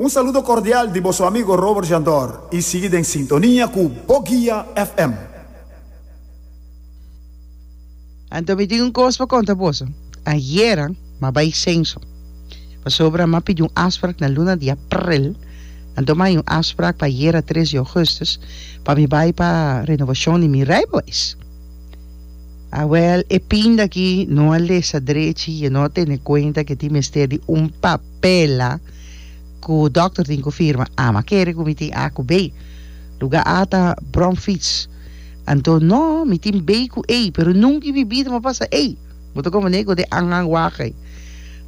Un saludo cordial di boso amigo Robert Jandor y sigui den sintonia cu Boguia FM. Anto mi tin un kos pa konta boso. Ayera m'a bai senso, pasobra m'a pidi un afsprak na luna di aprel, anto m'a haña un afsprak pa ayera tres di augustus pa mi bai pa renovashon di mi rijbewijs. Awel, e pinda aki no a lesa drechi i e no a tene kuenta ku e tin mester di un papela ku dòkter tin ku firma. Ami a kere ku mi tin A ku B. Lugá A ta bromfiets. Anto no, mi tin B ku E, pero nunka in mi bida mi a pasa E. Bo ta komprendé ku den aanhang wak ei.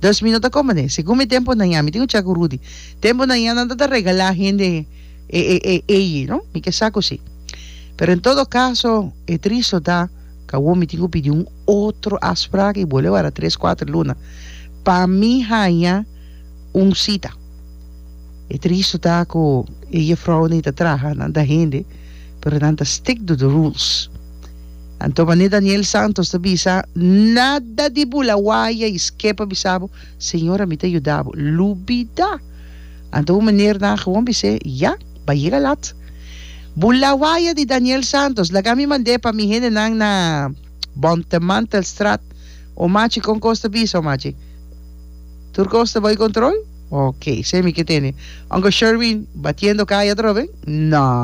Dus mi no ta komprendé. Segun mi tempu na ña, mi tin ku chek ku Rudy. Tempu na ña nan ta ta regalá hende e e e ei, no? Mi ke sa ku si. Pero en todo kaso, e tristo ta ku awor mi tin ku pidi un otro afsprak i bolbe wara tres kuater luna pa mi haña un sita. E tristo ta ku e jefrounan ei ta traha, nan ta hende, pero nan ta stick to the rules. Anto manera Daniel Santos ta bisa, nada di bula waya i skep a bisa bo, Señora mi ta yuda bo. Lubida! Anto un meneer nan gewoon bis'é, ya, ba yega lat. Bula waya di Daniel Santos, laga mi mand'é pa mi hendenan na Bontemantelstraat. Omachi kon kos ta bisa, Omachi? Tur kos ta bai kontrol? Ok, semi ke tene. Uncle Sherwin, batiendo kaya atrobe? No.